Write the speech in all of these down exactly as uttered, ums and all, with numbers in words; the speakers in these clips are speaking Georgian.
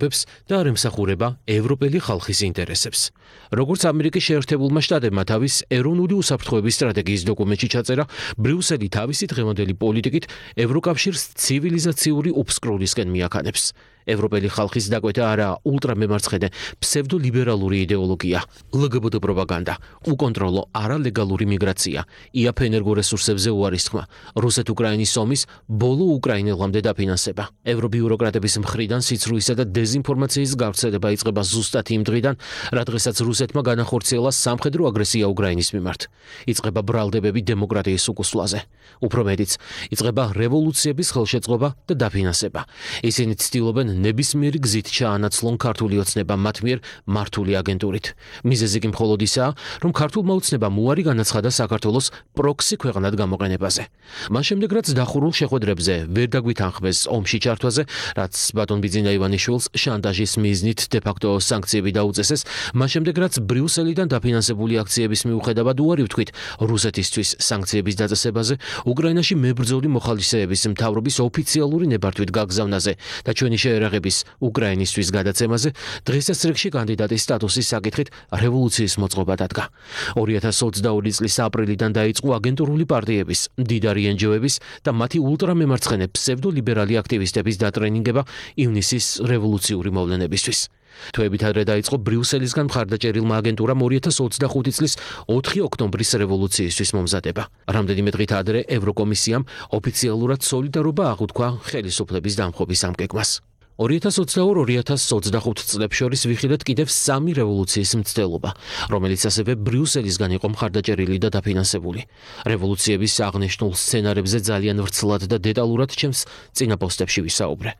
ფებს და არ ემსახურება ევროპელი ხალხის ინტერესებს. Როგორც ამერიკის შეერთებულმა შტატებმა თავის ეროვნული უსაფრთხოების სტრატეგიის დოკუმენტში ჩაწერა, ბრიუსელი თავისი დღევანდელი პოლიტიკით ევროკავშირს ცივილიზაციური უფსკრულისკენ მიაქანებს. ევროპელი ხალხის დაკვეთა არაა ულტრამემარცხენე ფსევდოლიბერალური იდეოლოგია, ლგბტ პროპაგანდა, უკონტროლო არალეგალური მიგრაცია, იაფ ენერგორესურსებზე უარის თქმა, რუსეთ-უკრაინის ომის ბოლო უკრაინელამდე დაფინანსება. ევრობიუროკრატების მხრიდან სიცრუისა და დეზინფორმაციის გავრცელება იწყება ზუსტად იმ დღიდან, რა დღესაც რუსეთმა განახორციელა სამხედრო აგრესია უკრაინის მიმართ. იწყება ბრალდებები დემოკრატიის უკუსვლაზე. უფრო მეტიც, იწყება რევოლუციების ხელშეწყობა და დაფინანსება. ისინი ცდილობენ ნებისმიერი გზით ჩაანაცვლონ ქართული ოცნება მათ მიერ მართული აგენტურით. მიზეზი კი მხოლოდ ისაა, რომ ქართულმა ოცნებამ უარი განაცხადა საქართველოს პროქსი ქვეყნად გამოყენებაზე. მას შემდეგ რაც დახურულ შეხვედრებზე ვერ დაგვითანხმეს ომში ჩართვაზე, რაც ბატონ ბიძინა ივანიშვილს შანტაჟის მიზნით დე-ფაქტო სანქციები დაუწესეს, მას შემდეგ რაც ბრიუსელიდან დაფინანსებული აქციების მიუხედავად უარი ვთქვით რუსეთისთვის სანქციების დაწესებაზე, უკრაინაში მებრძოლი მოხალისეების მთავრობის ოფიციალური ნებართვით გაგზავნაზე და ჩვენი შეერაღების უკრაინისთვის გადაცემაზე, დღესაც რიგში კანდიდატის სტატუსის საკითხით რევოლუციის მოწყობა დადგა. ორი ათას ოცდაორი წლის აპრილიდან დაიწყო აგენტურული პარტიების, მდიდარი ენჯოების და მათი ულტრამემარცხენე ფსევდოლიბერალი აქტივისტების დატრენინგება ივნისის რევოლუციური მოვლენებისთვის. თვეებით ადრე დაიწყო ბრიუსელისგან მხარდაჭერილმა აგენტურამ ორი ათას ოცდახუთი წლის ოთხი ოქტომბრის რევოლუციისთვის მომზადება. რამდენიმე დღით ადრე ევროკომისიამ ოფიციალურად სოლიდარობა აღუთქვა ხელისუფლების დამხობის ამგეგმას. ორი ათას ოცდაორი ორი ათას ოცდახუთი წლებს შორის ვიხილეთ კიდევ სამი რევოლუციის მცდელობა, რომელიც ასევე ბრიუსელისგან იყო მხარდაჭერილი და დაფინანსებული. რევოლუციების აღნიშნულ სცენარებზე ძალიან ვრცლად და დეტალურად ჩემს წინა პოსტებში ვისაუბრე.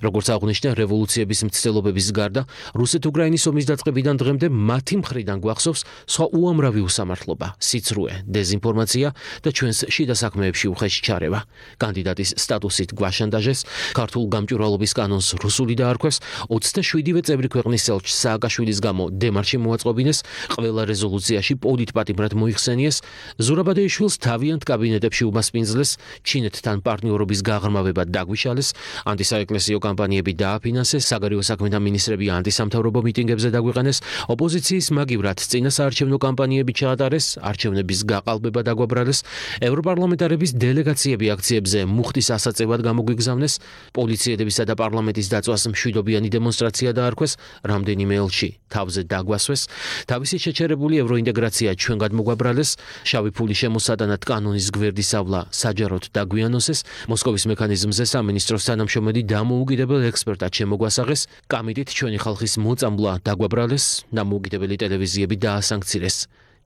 როგორც აღვნიშნე, რევოლუციების მცდელობების გარდა, რუსეთ-უკრაინის ომის დაწყებიდან დღემდე მათი მხრიდან გვახსოვს სხვა უამრავი უსამართლობა, სიცრუე, დეზინფორმაცია და ჩვენს შიდა საქმეებში უხეში ჩარევა. კანდიდატის სტატუსით გვაშანტაჟეს, ქართულ გამჭვირვალობის კანონს რუსული დაარქვეს, ოცდაშვიდივე წევრი ქვეყნის ელჩს სააკაშვილის გამო დემარში მოაწყვობინეს, ყველა რეზოლუციაში პოლიტპატიმრად მოიხსენიეს, ზურაბადეიშვილს თავიანთ კაბინეტებში უმასპინძლეს, ჩინეთთან პარტნიორობის გაღრმავება დაგვიშალეს, ანტისაეკლესიო კამპანიები დააფინანსეს, საგარეო საქმეთა მინისტრები ანტისამთავრობო მიტინგებზე დაგვიყენეს, ოპოზიციის მაგივრად წინასაარჩევნო კამპანიები ჩაატარეს, არჩევნების გაყალბება დაგვაბრალეს, ევროპარლამენტარების დელეგაციები აქციებზე მუხტის ასაწევად გამოგვიგზავნეს, პოლიციელებისა და პარლამენტის დაწვას მშვიდობიანი დემონსტრაცია დაარქვეს, რამდენიმე ელჩი თავზე დაგვასვეს, თავისი შეჩერებული ევროინტეგრაცია ჩვენგად მოგვაბრალეს, შავი ფულის შემოსადანად კანონის გვერდის ავლა საჯაროდ დაგვიანოსეს, მოსკოვის მექანიზმზე სამინისტროს თანამშრომელი დამოუკიდებელ ექსპერტად შემოგვასაღეს, კამიტით ჩვენი ხალხის მოწამვლა დაგვაბრალეს, დამოუკიდებელი ტელევიზიები დაასანქცირეს.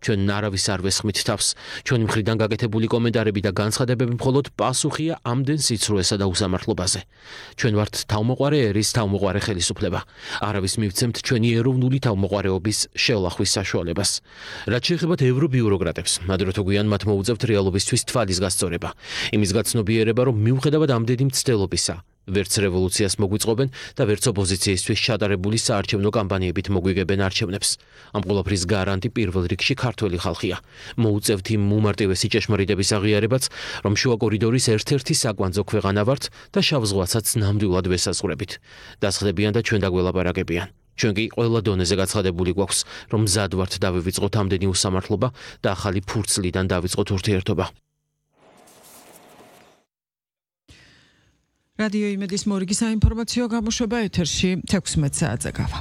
ჩვენ არავის არ ვესხმით თავს, ჩვენი მხრიდან გაკეთებული კომენტარები და განცხადებები მხოლოდ პასუხია ამდენ სიცრუესა და უსამართლობაზე. ჩვენ ვართ თავმოყარე ერის თავმოყარე ხელისუფლება. არავის მივცემთ ჩვენი ეროვნული თავმოყარეობის შელახვის საშუალებას. რაც შეეხება ევრობიუროკრატებს, ადრე თუ გვიან მათ მოუწევთ რეალობისთვის თვალის გასწორება. იმის გაცნობიერება, რომ მიუხედავად ამდენი მცდელობისა, ვერც რევოლუციას მოგვიწყობენ და ვერც ოპოზიციისთვის ჩატარებული საარჩევნო კამპანიებით მოგვიგებენ არჩევნებს. ამ ყველაფრის გარანტი პირველ რიგში ქართველი ხალხია. მოუწევთ იმ უმარტივესი ჭეშმარიტების აღიარებაც, რომ შუა კორიდორის ერთ-ერთი საკვანძო ქვეყანა ვართ და შავ ზღვასაც ნამდვილად ვესაზღვრებით. დასხდებიან და ჩვენ დაგველაპარაკებიან. ჩვენ კი ყველა დონეზე გაცხადებული გვაქვს, რომ მზად ვართ დავივიწყოთ ამდენი უსამართლობა და ახალი ფურცლიდან დავიწყოთ ურთიერთობა. რადიო იმედის მორიგი საინფორმაციო გამოშვება ეთერში თექვსმეტ საათზე გავა.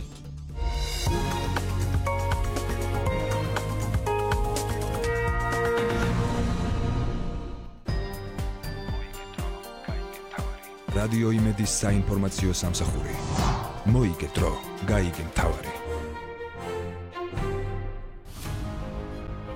რადიო იმედის საინფორმაციო სამსახური. მოიგე დრო, გაიგე მთავარი.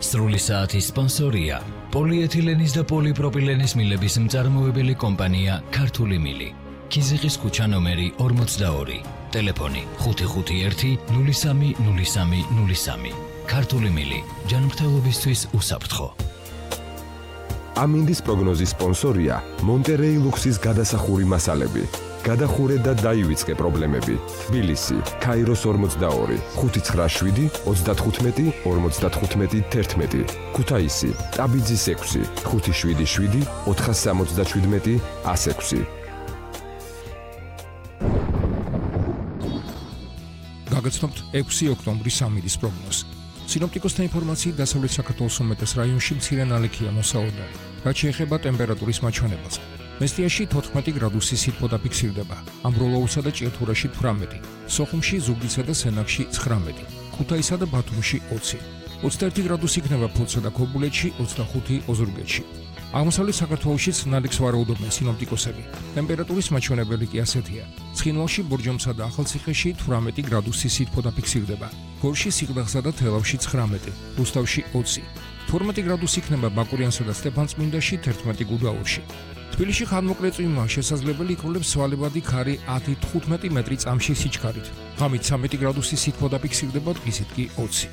სრული საათის სპონსორია პოლიეთილენის და პოლიპროპილენის მილების მწარმოებელი კომპანია ქართული მილი. ქიზიყის ქუჩა ნომერი ორმოცდაორი. ტელეფონი ხუთი ხუთი ერთი ნული სამი ნული სამი ნული სამი. ქართული მილი. ჯანმრთელობისთვის უსაფრთხო. ამინდის პროგნოზის სპონსორია მონტერეი ლუქსის გადასახური მასალები. გადახურე და დაივიწყე პრობლემები. თბილისი, ქაიროს ორმოცდაორი, ხუთი ცხრა შვიდი ოცდათხუთმეტი ორმოცდათხუთმეტი თერთმეტი. ქუთაისი, ტაბიძის ექვსი, ხუთი შვიდი შვიდი ოთხასამოცდაშვიდმეტი ასექვსი. გაგაცნობთ ექვსი ოქტომბრის სამინდის პროგნოზს. სინოპტიკოსთა ინფორმაციით, დასავლეთ საქართველოს უმეტეს რაიონში მცირე ნალექია მოსაოდარი. რაც შეეხება ტემპერატურის მაჩვენებელს, მესტიაში თოთხმეტი გრადუსი სითბო დაფიქსირდება, ამბროლოუსა და ჭიათურაში თვრამეტი, სოხუმში, ზუგდიდსა და სენაკში ცხრამეტი, ქუთაისსა და ბათუმში ოცი, ოცდაერთი გრადუსი იქნება ფოთსა და ქობულეთში, ოცდახუთი ოზურგეთში. აღმოსავლეთ საქართველოშიც ნალექს ვარაუდობენ სინოპტიკოსები. ტემპერატურის მაჩვენებელი კი ასეთია: ცხინვალში, ბორჯომსა და ახალციხეში თვრამეტი გრადუსი სითბო დაფიქსირდება, გორში, სიღნაღსა და თელავში ცხრამეტი, რუსთავში ოცი, თორმეტი გრადუსი იქნება ბაკურიანსა და სტეფანწმინდაში, თერთმეტი გუდაურში. თბილისში ხანმოკლე წვიმა შესაძლებელი იქნებს სვალებადი ქარი ათი თხუთმეტი მეტრი წამში სიჩქარით. ღამით ცამეტი გრადუსი სითბო დაფიქსირდება, დღისით კი ოცი.